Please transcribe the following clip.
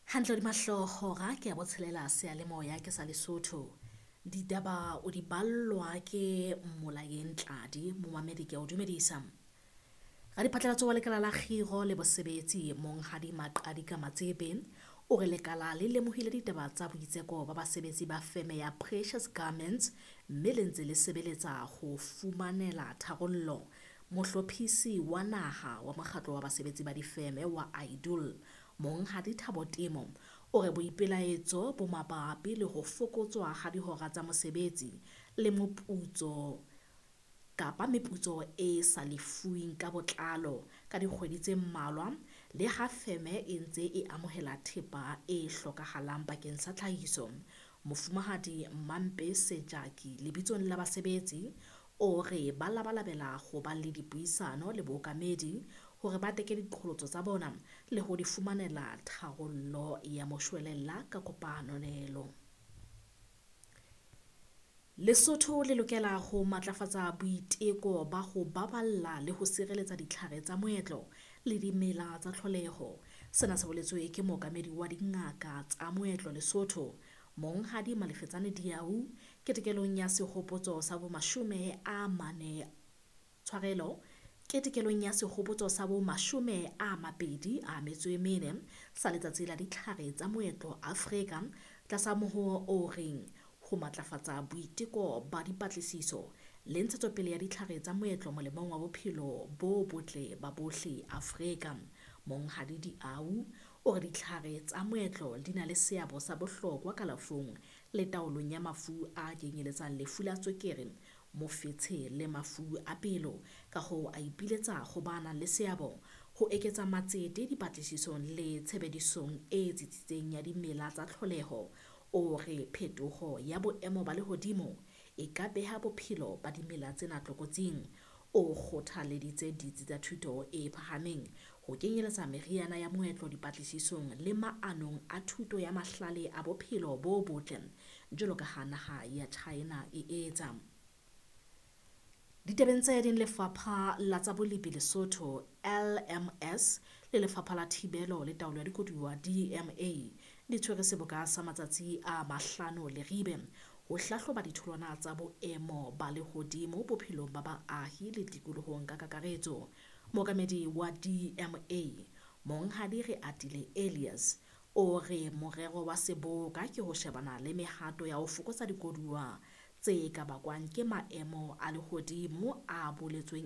Hantle hodima hlooho hora ke ya botshelela seyalemoya ke sa Lesotho. Ditaba o di ballwa ke Mmolayeng Tladi, momamedi ke a o dumedisa. Radiphatlalatso wa lekala la kgiro le bosebetsi Monghadi Maqadika Matsepe o re lekala le lemohile ditaba tsa boitseko ba basebetsi ba feme ya Precious Garments mme le ntse le sebeletsa ho fumanela tharollo. Mohlophisi wa naha wa mokgatlo wa basebetsi ba difeme wa IDOL Monghadi Thabo Temo o re boipelaetso bo mabapi le ho fokotswa ha dihora tsa mosebetsi le moputso kapa meputso e sa lefuweng ka botlalo ka dikgwedi tse mmalwa le ha feme e ntse e amohela thepa e hlokahalang bakeng sa tlhahiso. Mofumahadi Mampe Sejaki lebitsong la basebetsi o re ba labalabela ho ba le dipuisano le bookamedi hore ba teke diqholotso tsa bona le ho di fumanela tharollo ya moshwelella ka kopanelo. Lesotho le lokela ho matlafatsa boiteko ba ho baballa le ho sireletsa ditlhare tsa moetlo le dimela tsa tlholeho. Sena se boletswe ke mookamedi wa dingaka tsa moetlo Lesotho, Monghadi Malefetsane Diau, ketekelong ya sehopotso sa bomashome a mane tshwarelo ketekelong ya sehopotso sa bomashome a mabedi a metso e mene sa letsatsi la ditlhare tsa moetlo Afrika tlasa mohoo o reng ho matlafatsa boiteko ba dipatlisiso le ntshetsopele ya ditlhare tsa moetlo molemong wa bophelo bo botle ba bohle Afrika. Monghadi Diau o re ditlhare tsa moetlo di na le seabo sa bohlokwa kalafong le taolong ya mafu a kenyeletsang lefu la tswekere, mofetshe le mafu a pelo. Ka hoo a ipiletsa ho ba nang le seabo ho eketsa matsete dipatlisisong le tshebedisong e tsitsitseng ya dimela tsa tlholeho. O re phetoho ya boemo ba lehodimo e ka beha bophelo ba dimela tsena tlokotsing. O kgothaleditse ditsi tsa thuto e phahameng ho kenyeletsa meriana ya moetlo dipatlisisong le maanong a thuto ya mahlale a bophelo bo botle jwalo ka ha naha ya China e etsa. Ditabeng tse ding, Lefapha la tsa Bolipi Lesotho LMS le Lefapha la Thibelo le Taolo ya Dikoduwa DMA di tshwere seboka sa matsatsi a mahlano Leribe ho hlahloba ditholwana tsa boemo ba lehodimo bophelong ba baahi le tikolohong ka kakaretso. Mookamedi wa DMA Monghadi Reatile Elias o re morero wa seboka ke ho shebana le mehato ya ho fokotsa dikoduwa tse ka bakwang ke maemo a lehodimo a boletsweng.